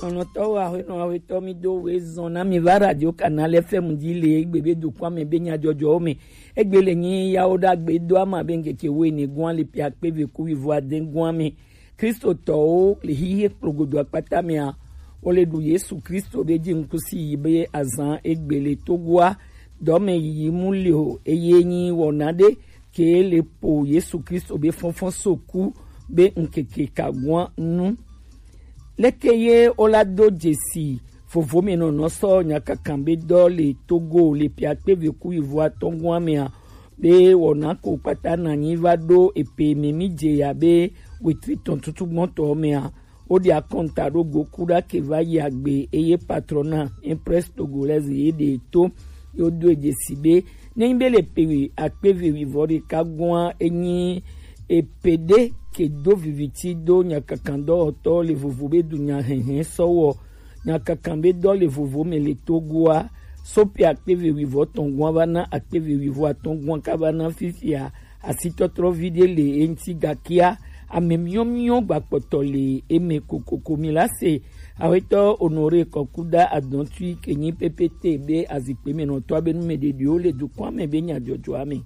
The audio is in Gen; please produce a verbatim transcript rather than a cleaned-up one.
Nɔnɔtɔwo, aƒenɔ, aƒetɔ, mi do we zɔn na mi va Radio Canal F M ji le egbe be dukɔa me be nyadzɔdzɔwo me. Egbe le nyi yawo ɖagbe do ama be ŋkeke wo ene gɔa le ƒe akpe eve ku wuivo ade gɔa me. Kristotɔwo le xixe kplogodo akpata mea, wo le ɖu Yesu Kristo be ji ŋkusi yi be azan egbe le Togoa dɔme yiyi mu le o, eye nyi wɔna ɖe ke le po Yesu Kristo be fɔnfɔn so ku be ŋkeke ka gɔa nu. Leke ye wo la do dzesi vovomenɔnɔ sɔ nyakankan be dɔ le Togo le ƒe akpe eve ku wuivo atɔ̃ gɔa mea, be wɔna ko kpata na nyi va ɖo epe me mi dze ya be wetri tɔn tutu gbɔntɔ mea, wo ɖe akɔnta ɖo go ku ɖa ke va yi agbe eye patrona Impress Togolaise ye ɖe to yo do dzesi be ne nyi be le pe akpe eve wuivo ɖeka gɔa enyi epe ɖe ke do viviti do nyakankan dɔwɔtɔ le vovo be dunya hɛhɛ sɔwɔ nyakankan be dɔ le vovo me le Togoa so pe akpe eve wuivo tɔn gɔa va na akpe eve wuivo atɔ̃ gɔa ka va na fifia asitɔtrɔ vi ɖe le eŋti gakia ame miɔmiɔ gbakpɔtɔ le eme kokoko mi la se. Awetɔ Honoré Kɔkuda Adɔntui ke nyi P P T be azikpe me nɔtɔ abe numeɖeɖiwo le dukɔa me be nyadzɔdzɔa me.